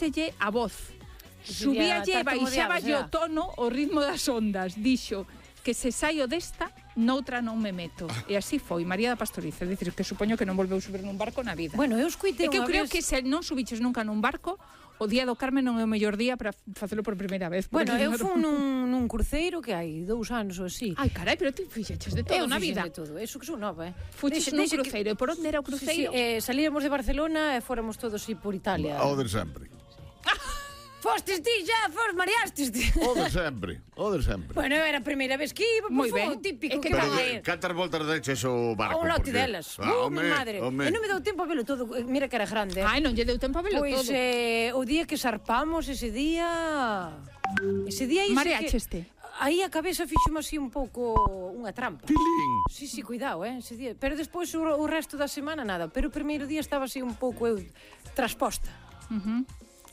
cambiáselle a voz. Subíalle e baixaballe o tono, o ritmo das ondas. Dixo que se saio desta, noutra non me meto. E así foi, María da Pastoriza. Dicir, que supoño que non volveu subir nun barco na vida. Bueno, eu escuitei unha vez... É que eu creo que se non subiches nunca nun barco, o Día do Carmen non é o mellor día para facelo por primeira vez. Bueno, eu fui nun cruceiro que hai 2 anos ou así. Ai, carai, pero ti fixeches de todo na vida. Eu fixen de todo, eso que son nova, Fuches nun cruceiro, e por onde era o cruceiro? Salíamos de Barcelona e fóramos todos por Italia. O de sempre. Fostes ti já, mareastes ti. O de sempre. Bueno, era a primeira vez que iba, moi foi ben. Típico que pero cantas voltas deches o barco? A un lote delas. Mi madre. E non me deu tempo a velo todo, mira que era grande. Ai, non lle deu tempo a velo todo. Pois o día que zarpamos, ese día mareacheste. Aí a cabeza fixome así un pouco unha trampa. Tilín. Sí, cuidado, ese día. Pero despois o resto da semana nada. Pero o primeiro día estaba así un pouco eu trasposta.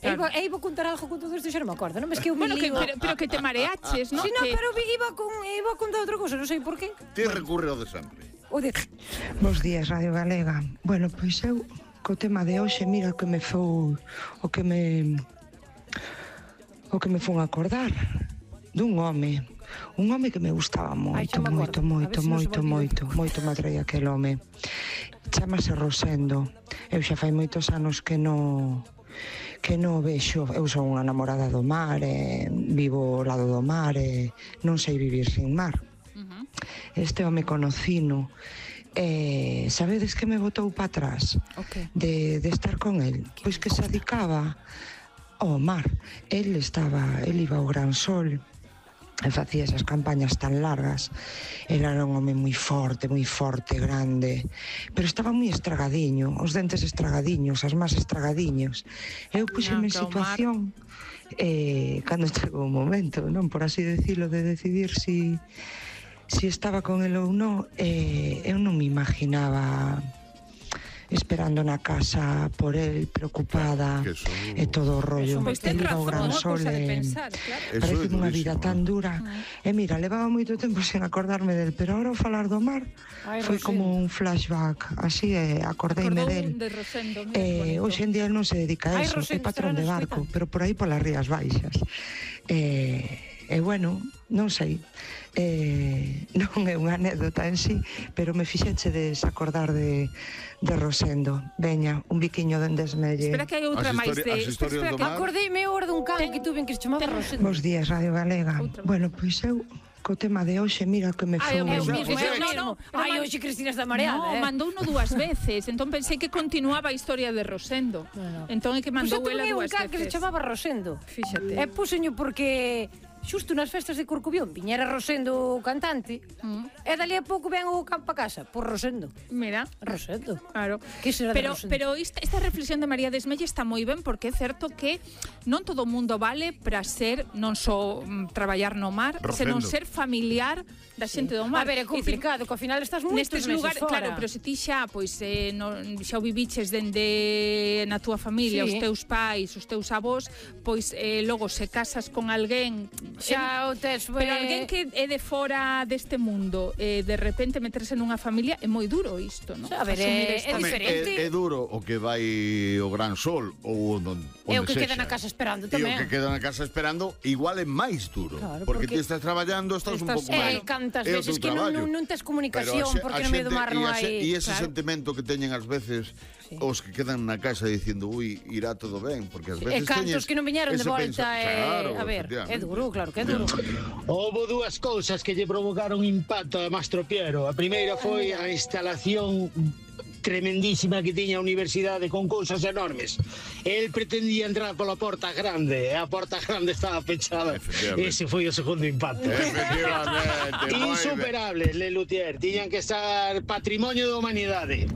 Claro. E iba a contar algo con todo isto, xa non me acordo, non? Es que eu me lío. Pero que te mareaches, non? Sí, non, pero iba a contar outra cosa, non sei por qué. Ti recurre ao de sempre. Bos días, Radio Galega. Bueno, pois eu, co tema de hoxe, mira que me fou o que me fun a acordar dun home que me gustaba moito, moito me atraía aquel home. Chámase Rosendo. Eu xa fai moitos anos que non vexo. Eu son unha namorada do mar, vivo ao lado do mar, non sei vivir sin mar. Este home conocino, sabedes que me botou para atrás de estar con el? Pois que se dedicaba ao mar. El iba ao Gran Sol e facía esas campañas tan largas. El era un home moi forte, grande, pero estaba moi estragadiño, os dentes estragadiños, as más estragadiños. Eu puxeme en situación cando chegou o momento, non, por así decirlo, de decidir si estaba con el ou non. Eu non me imaginaba esperando na casa por el, preocupada, e todo o rollo. El iba ao Gran Sol, parece unha vida tan dura. E mira, levaba moito tempo sen acordarme del, pero ahora ao falar do mar foi como un flashback, así, acordeime del. Hoxe en día non se dedica a eso, é patrón de barco, pero por aí polas Rías Baixas. E bueno, non sei, non é unha anécdota en sí, pero me fixeche desacordar de Rosendo. Veña, un biquiño dende esmelle. Espera que hai outra máis de... Espera que acordeime ahora dun can que tuve que se chamaba Rosendo. Bos días, Radio Galega. Bueno, pois eu, co tema de hoxe, mira que me foi... Ai, hoxe Cristina está mareada. No, mandouno 2 veces, entón pensei que continuaba a historia de Rosendo. Entón é que mandou ela 2 veces. Pois eu tuve un can que se chamaba Rosendo. Fíxate. E puxeño porque... xusto nas festas de Corcubión viñera Rosendo o cantante e dali a pouco ven o campo a casa por Rosendo. Mira, Rosendo. Claro. Que será de Rosendo? Pero esta reflexión de María Desmelle está moi ben, porque é certo que non todo o mundo vale para ser non só traballar no mar, senón ser familiar da xente do mar. A ver, é complicado, que ao final estás moitos meses fora. Claro, pero se ti xa xa o viviches dende na túa familia, os teus pais, os teus avós, pois logo se casas con alguén xa o tes, pero alguén que é de fora deste mundo, de repente meterse nunha familia é moi duro isto, non? A ver, é diferente. É duro o que vai o Gran Sol ou onde é o que queda na casa esperando tamén. E o que queda na casa esperando igual é máis duro, porque ti estás traballando, estás un pouco máis. Cantas veces que non tes comunicación, porque no medio do mar non hai. E ese sentimento que teñen ás veces os que quedan na casa dicindo, ui, irá todo ben, porque ás veces teñen... E cantos que non viñeron de volta, a ver, é duro, claro que é duro. Houbo 2 cousas que lle provocaron impacto a Mastro Piero. A primeira foi a instalación tremendísima que tiña a universidade con cousas enormes. El pretendía entrar pola porta grande e a porta grande estaba pechada. Ese foi o segundo impacto. Insuperable, Le Luthier. Tiñan que estar patrimonio da humanidade.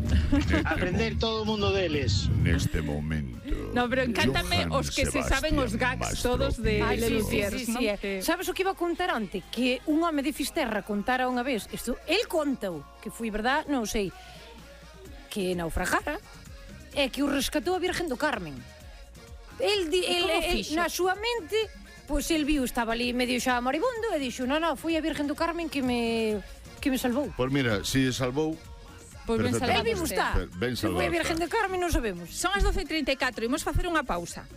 Aprender todo o mundo deles. Neste momento. No, pero encántame os que se saben os gags todos de Le Luthier. Sabes o que iba a contar antes? Que un home de Fisterra contara unha vez, isto, el contou, que foi verdad, non sei, que naufragara e que o rescatou a Virgen do Carmen. El na súa mente, pois el viu, estaba ali medio xa moribundo e dixo, non, foi a Virgen do Carmen que me salvou. Pois mira, si salvou, pois ben salvado está. Ben salvado. Foi a Virgen do Carmen, non sabemos. Son as 12:34, imos facer unha pausa.